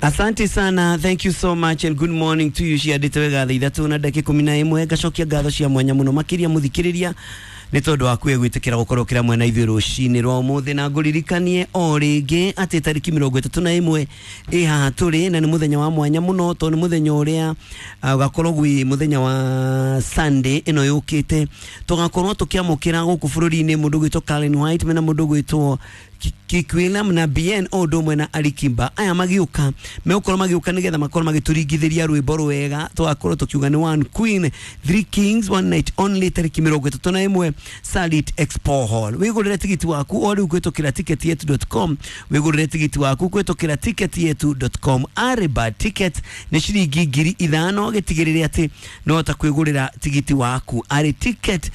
Asante sana, thank you so much and good morning to you. Ciandĩte wega thaa 3 na ndagĩka 11. Ngacokia ngatho cia mwanya mũno makĩria mũthikĩrĩria nĩ tondũ wa kuya gwĩtĩkĩra gũkorwo kĩra mwena ithuĩ rũcinĩ rwa ũmũthĩ, na ngũririkanie o rĩngĩ atĩ tarĩki 31 ĩ haha tũrĩ, na nĩ mũthenya wa mwanya mũno tondũ nĩ mũthenya ũrĩa ũgakorwo gwĩ mũthenya wa Sunday ĩno yũkĩte, tũgakorwo tũkĩamũkĩra gũkũ bũrũri-inĩ mũndũ gwĩtwo Karen White mena mũndũ gwĩtwo Kikwillam na Bien o ũndũ ũmwe na Alikiba. Aya magĩũka megũkorwo magĩũka nĩgetha makorwo magĩtũringithĩria rwĩmbo rwega, tũgakorwo tũkiuga nĩ One Queen Three Kings, one night only, tarĩki 31, Salit Expo Hall. Wĩgũrĩre tigiti waku o rĩu kũhĩtũkĩra ticketyetu.com, wĩgũrĩre tigiti waku kũhĩtũkĩra ticketyetu.com. Ariba ticket nĩ ciringi 5,000, gĩtigĩrĩre atĩ no hota kwĩgũrĩra tigiti waku arĩ ticket,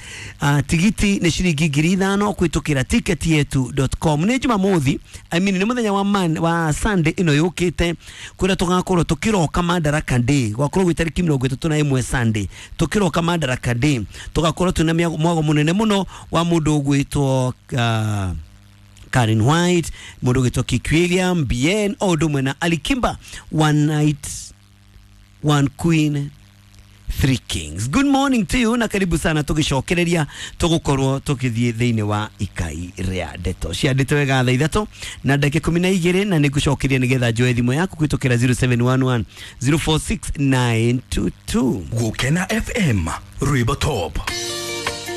tigiti nĩ ciringi 5,000 kũhĩtũkĩra ticketyetu.com. Nĩ Jumamothi, I mean nĩ mũthenya wa, man, wa Sunday ĩno yũkĩte, kũrĩa tũgakorwo tũkĩroka Madaraka Day, gwakorwo gwĩ tarĩki 31 Sunday, tũkĩroka Madaraka Day, tũgakorwo twĩna mwago mũnene mũno wa mũndũ ũgwĩtwo Karen White, mũndũ ũgwĩtwo Kiki William, Bien o ũndũ ũmwe na Alikiba, one night, one queen, three kings. Good morning to you na karibu sana, tugicokereria tugukorwo tukithie thiini wa ikai ria ndeto ciandĩte wega thaa 3 na ndagĩka 12, na nĩngũcokeria nĩgetha njoe thimũ yaku kũhĩtũkĩra 0711 046922. Gukena FM, rwĩmbo top.